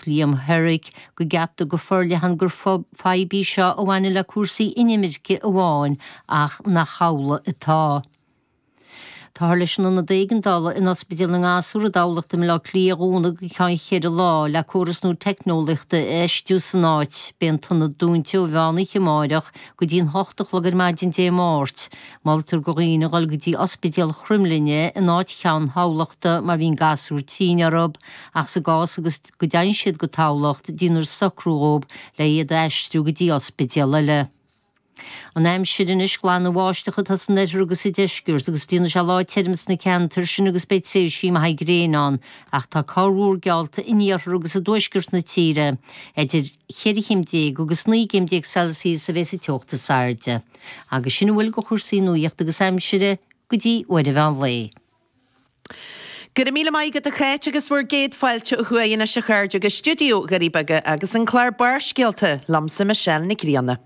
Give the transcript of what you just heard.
Cathrach Liam Herrick go gceaptar go forleathan gur fadhb í seo a bhaineann le cúrsaí inimirce amháin ach nach amhlaidh atá. Táthar leis an ionad éigeandála in Ospidéal na nGasúr i dTamhlacht i mBaile Átha Cliath a dhúnadh go ceann cheithre lá le córas nua teicneolaíochta a fheistiú san áit. Beidh an t-ionad dúnta ó mheán oíche amáireach go dtí an hocht a chlog ar maidin Dé Máirt. Moltar do dhaoine dhul go dtí Ospidéal Chroimghlinne in áit cheann Thamhlachta má bhíonn gasúr tinn orthu ach sa gcás agus go dteigheann siad go Tamhlacht déanfar socrú dhóibh le iad a aistriú go dtí ospidéal eile. An aimsir anois, glanbháisteach atá san oirthear agus sa deisceart agus déanfaidh sé lá tirim sna ceantair sin agus beidh tréimhsí maithe gréine ann ach tá corrmhúr geallta in iarthar agus i dtuaisceart na tíre. Idir cheithre chéim déag agus 19 gcéim Celsius a bheas an teocht is airde. Agus sin a bhfuil de chúrsaí nuachta agus aimsire go dtí uair an mheán lae. Go raibh míle maith agat a Cháit agus bhur gcéad fáilte ó thuaidh anois a chairde go stiúideo Dhoirí Beaga agus an clár Barrscéalta liomsa Michelle Nic Grianna.